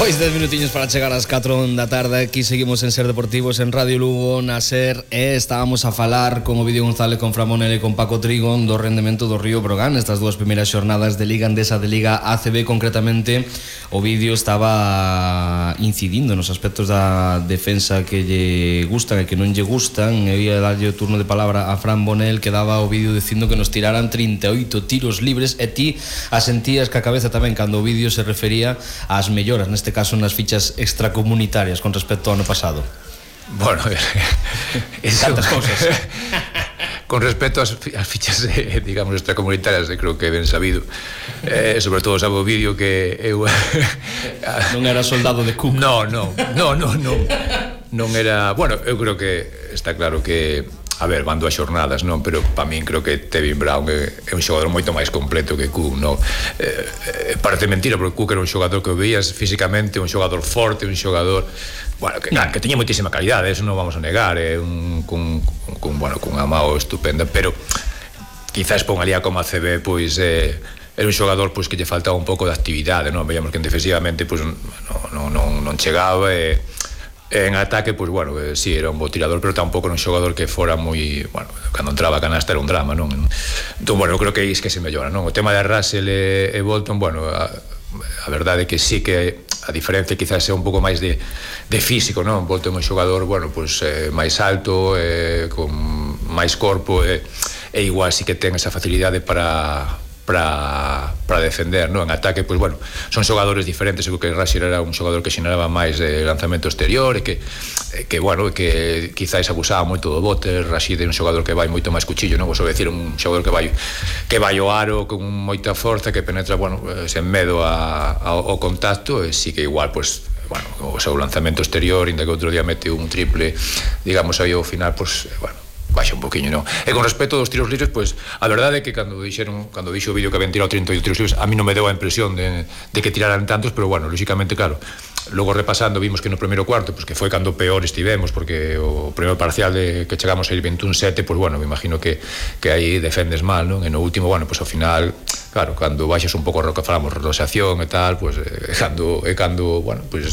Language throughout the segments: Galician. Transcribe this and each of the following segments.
Pois 10 minutiños para chegar ás 4 da tarde. Aquí seguimos en Ser Deportivos en Radio Lugo, na SER. Estábamos a falar con Ovidio González, con Fran Monel e con Paco Trigón do rendemento do Río Brogan estas dúas primeiras xornadas de Liga Endesa, de Liga ACB. Concretamente, Ovidio estaba incidindo nos aspectos da defensa que lle gustan e que non lle gustan. E ia darlle o turno de palabra a Fran Monel, que daba o vídeo dicindo que nos tiraran 38 tiros libres, e ti asentías que a cabeza tamén cando o vídeo se refería ás melloras, neste caso nas fichas extracomunitarias con respecto ao ano pasado. Bueno, tantas cousas. Con respecto ás fichas, digamos, extracomunitarias, creo que ben sabido, sobre todo sabe o vídeo que eu non era soldado de Cook. Non era, bueno, eu creo que está claro que, a ver, van dúas xornadas, non, pero para min creo que Tevin Brown é un xogador moito máis completo que Cook, non? Parece mentira, porque Cook era un xogador que o veías físicamente, un xogador forte, un xogador, bueno, que tiña moitísima calidade, eso non vamos a negar, cunha mao estupenda, pero quizás pon ali a como a CB, pois era un xogador pois que lle faltaba un pouco de actividade, non? Veíamos que defensivamente pois non chegaba, en ataque, pois, bueno, sí, era un bo tirador, pero tampouco era un xogador que fora moi, bueno, cando entraba a canasta era un drama, non? Entón, bueno, eu creo que é que se mellora, non? O tema de Russell e Bolton, bueno, a verdade é que sí que a diferencia quizás é un pouco máis de físico, non? Bolton é un xogador, bueno, pois máis alto, con máis corpo, e igual sí que ten esa facilidade para defender, non? En ataque, pois, bueno, son xogadores diferentes. Eu creo que Russell era un xogador que xeneraba máis de lanzamento exterior e que bueno, que quizáis abusaba moito do bote. Rashid é un xogador que vai moito máis cuchillo, non? Vos vou decir, un xogador que vai ao aro con moita forza, que penetra, bueno, sen medo ao contacto, e sí que igual, pois, bueno, o seu lanzamento exterior, inda que outro día mete un triple, digamos, aí ao final, pois, bueno, baixa un poquinho, non? E con respecto aos tiros libres, pois, a verdade é que cando dixo o vídeo que habían tirado 38 tiros libres, a mí non me deu a impresión de que tiraran tantos, pero bueno, lógicamente, claro, logo repasando vimos que no primeiro cuarto, pois que foi cando peor estivemos, porque o primeiro parcial que chegamos a ir 21-7, pois bueno, me imagino que aí defendes mal, non? E no último, bueno, pois ao final, claro, cando baixas un pouco o que falamos, relaxación e tal, pois cando, bueno, pois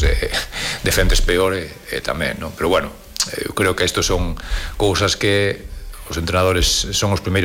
defendes peor e tamén, non? Pero bueno, eu creo que estos son cousas que os entrenadores son os primeiros